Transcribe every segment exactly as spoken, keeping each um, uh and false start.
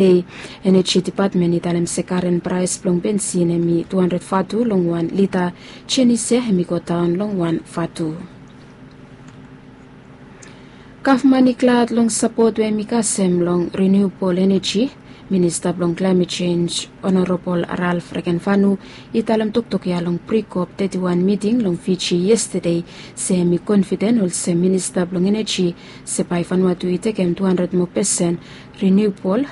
Dei, Eneji Depatmen i talem se karen praes blong bensin hemi tu handred vatu long wan lita. Jenis ya hemi godaon long wan vatu. Gavman i glad long sapot we hemi kasem long riniubol eneji. Minista blong klaemet jenj, Honorabol Ralf Regenvanu, i talem toktok ya long pri-kop teti wan miting long Fiji yestade, se hemi konfiden olsem minista blong eneji, se bae Vanuatu i tekem tu handred moa pesen riniubol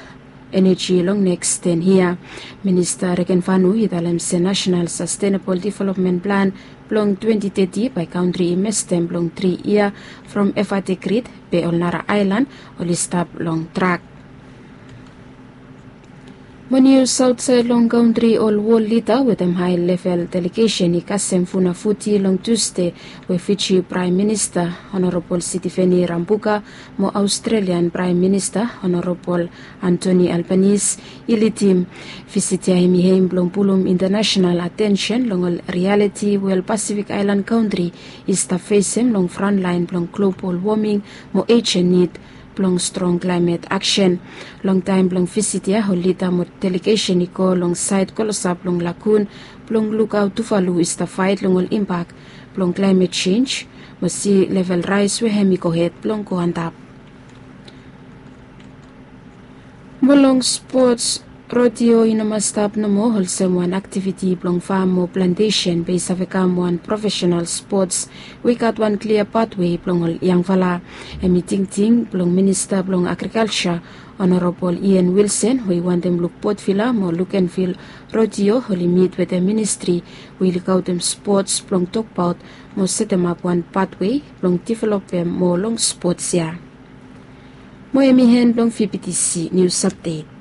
eneji long neks ten yia. Minista Regenvanu i talem se Nasenal Sastenabol Developmen Plan blong twenti teti bae kantri i mestem long tri yia, from Efate Grid, be ol nara aelan oli stap long trak. Mo nius aotsaed long kantri, ol wol lida wetem hae level delegesen i kasem Funafuti long Tusde, we Fiji Praem Minista Honorabol Sitiveni Rabuka mo Aostralian Praem Minista Honorabol Antoni Albanese i lidim. Visit ya hemi hem blong pulum intanasenal atensen long ol rialiti we ol Pasifik aelan kantri i stap fesem long frantlaen blong globol woming mo ejen nid blong strong klaemet aksen. Long taem blong visit ya ol lida mo delegesen i go long saed klosap long lagun blong lukaot Tuvalu i stap faet long ol impak blong klaemet jenj mo si level raes we hemi gohed blong go antap. Mo long spots, rodeo i no mas stap nomo olsem wan aktiviti blong fam mo plantesen, be i save kam wan profesenal spots we i gat wan klia patwe blong ol yangfala. Hemi tingting blong Minista blong Agrikalja, Honorabol Ian Wilson, we i wantem luk Potvila mo Lukenvil rodeo oli mit wetem ministri we i lukaotem spots blong tokbaot mo setemap wan patwe blong developem moa long spots ya. Mo hemi en blong V B T C nius apdet.